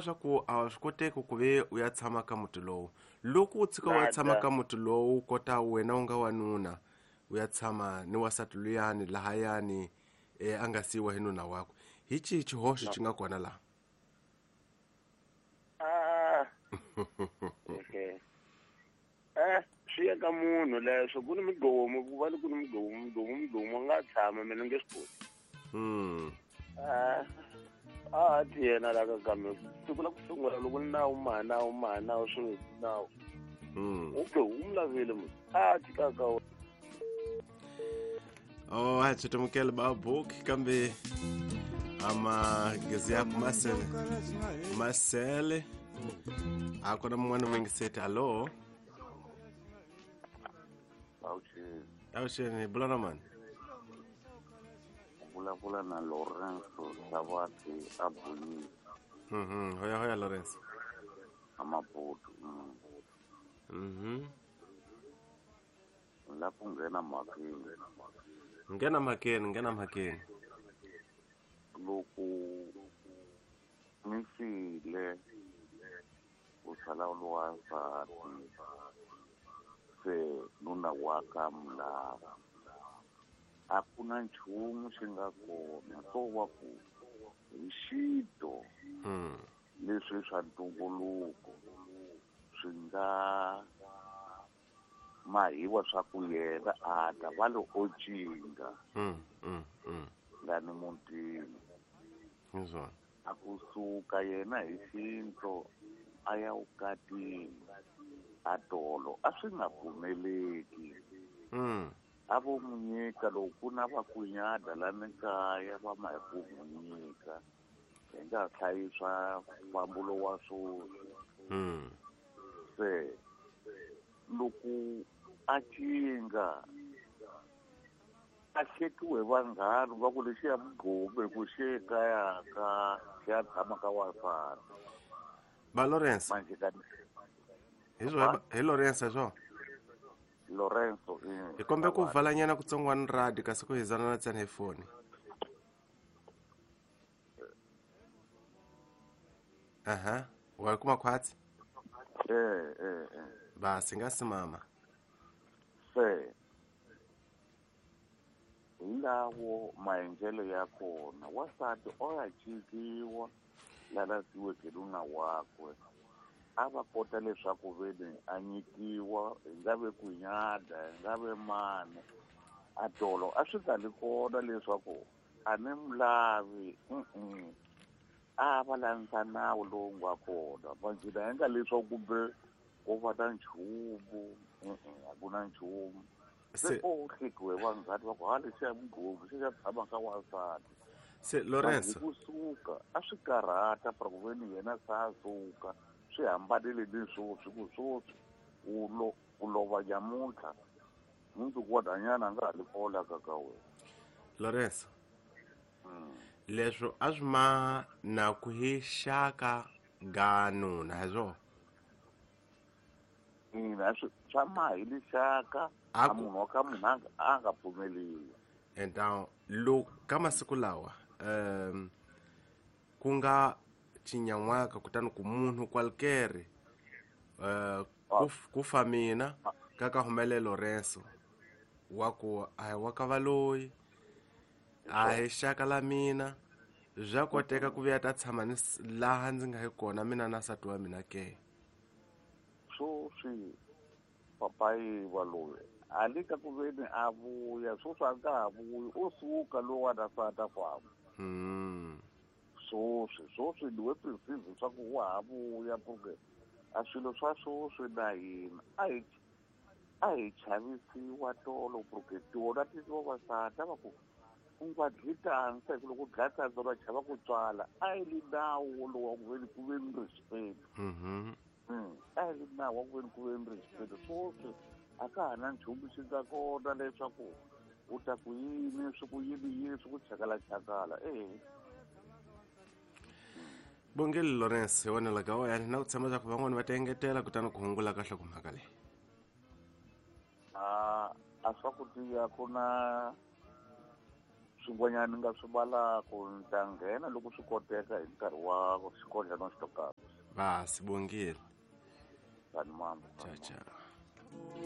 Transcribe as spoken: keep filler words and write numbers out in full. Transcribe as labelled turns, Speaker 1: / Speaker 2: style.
Speaker 1: Swa ku a swi koteki ku ve u ya tshama ka muti lowu. Loko u tshika u ya tshama ka muti lowu kota wena u nga wanuna u ya tshama ni wansati luyani lahayani e a nga siyiwa hi nuna wakwe, hi xihi xihoxo xi nga kona laha?
Speaker 2: Ah, okay. Eh, swi ya ka munhu leswo ku ni migqomu, ku va ku ni migqomu, migqomu, migqomu a nga tshama mina nge swi koti.
Speaker 1: Mm.
Speaker 2: Ah, a ti yena la ka kambe siku la ku sungula loko ni nawu ma nawu ma nawu swi nawu.
Speaker 1: Mm.
Speaker 2: U ke u mu lavile munhu. A ti ka ka.
Speaker 1: Oh, a tshitumukele ba book kambe ama gezi ya masele. Masele. A kona mun'wana mwingiseti. Hello.
Speaker 3: Awuxeni.
Speaker 1: Awuxeni, bula na mani?
Speaker 3: Vulavula na Lorenzo Savati a Buyini.
Speaker 1: Mhm, hoya hoya Lorenzo.
Speaker 3: Amaputo. Mm.
Speaker 1: Mhm.
Speaker 3: La ku nghena mhakeni.
Speaker 1: Nghena mhakeni, nghena mhakeni.
Speaker 3: Loko ni file u sala u ri wansati se nuna wa ka mulava a ku na nchumu xi nga kona swo va ku hi xito
Speaker 1: Mm.
Speaker 3: leswi swa ntumbuluko swi nga mahiwa swa ku yena a ta va lo o cinga
Speaker 1: Mm, mm, mm.
Speaker 3: lani mutini.
Speaker 1: Hi swona.
Speaker 3: A kusuka yena hi xinto a ya vukatini a tolo a swi nga pfumeleki.
Speaker 1: Mm.
Speaker 3: A vo mu nyika loko ku na va ku nyada lani kaya va ma hi ku mu nyika hi nga hlayisa mfambulo wa swoswi.
Speaker 1: Mm.
Speaker 3: Se loko a cinga a hlekiwe vanghana va ku lexi ya mugqomu hi ku xi ekaya ka xi ya tshama ka wansati.
Speaker 1: Ba Lorenzo.
Speaker 3: Manje ka
Speaker 1: Hi swo hi Lorenzo swo.
Speaker 3: Lorenzo eh.
Speaker 1: Hi kombe ku valanyana kutsongwana radio kasi ku hizana na tsena hi foni. Aha, wa kuma khwatsi?
Speaker 3: Eh eh eh.
Speaker 1: Basi nga simama.
Speaker 3: Se hi lawo maendlelo ya kona wansati o ya cinciwa lana siweke nuna wakwe a va kota leswaku veni a nyikiwa hi nga ve ku nyada hi nga ve mani a tolo a swi nga li kona leswaku a ni mu lavi mm a va landza nawu lowu nga kona manjhina hi nga leswaku kumbe ko va na nchumu a ku na nchumu se o hlekiwe vanghana va ku ha lexiya mugqomu xi xa tshama ka wansati.
Speaker 1: Se Lorenzo
Speaker 3: kusuka a swi karhata para ku veni yena sa suka swi hambanile ni swoswi ku swoswi u lo u lova nyamuntlha mundzuku wa danyana a nga ha li kola ka ka wena.
Speaker 1: Lorenzo leswo a swi ma na ku hi xaka ga nuna hi swona?
Speaker 3: Ina swi swa ma hi lixaka
Speaker 1: A
Speaker 3: a
Speaker 1: ku-
Speaker 3: munhu wa ka munhu a nga a nga pfumeliwi.
Speaker 1: And now lo ka masiku lawa um ku nga cinyan'waka kutani ku munhu kwalkere uh, ku, ku fa mina ka ka humele Lorenzo wa ku a hi wa ka valoyi a hi xaka la mina bya koteka ku vuya ta tshama ni laha ndzi nga hi kona mina na nsati wa mina ke.
Speaker 3: Swoswi papayi wa loyi a le ka ku veni a vuya swoswi a nga ha vuyi u suka lowu a ta sata famba.
Speaker 1: Mm.
Speaker 3: Swoswi swoswi ni we perceive swa ku wa ha vuya porque a swilo swa swoswi na hina a hi a hi chavisiwa tolo porque tona ti vavasati a va ku u nga dyi tandza hi ku loko u dlaya tandza va chava ku tswala a yi li nawu lowu wa ku veni ku ve ni respect.
Speaker 1: Mhm.
Speaker 3: Mm. A yi li nawu wa ku veni ku ve ni respect. Swoswi a ka ha na nchumu xi nga kona leswaku u ta ku yini swi ku yini yini swi ku chakala-chakala eh.
Speaker 1: Bongele Lorenzo hi wena ka wena na ku tshemba leswaku van'wani va ta engetela kutani ku hungula ka nhlokomhaka leyi.
Speaker 3: A a swa ku tiya ku na Swin'wanyana ni nga swi valaku ni ta nghena loko swi koteka hi nkarhi wa xikodlana xitokapa.
Speaker 1: Va sibongile.
Speaker 3: Tani mambo.
Speaker 1: Ciao ciao.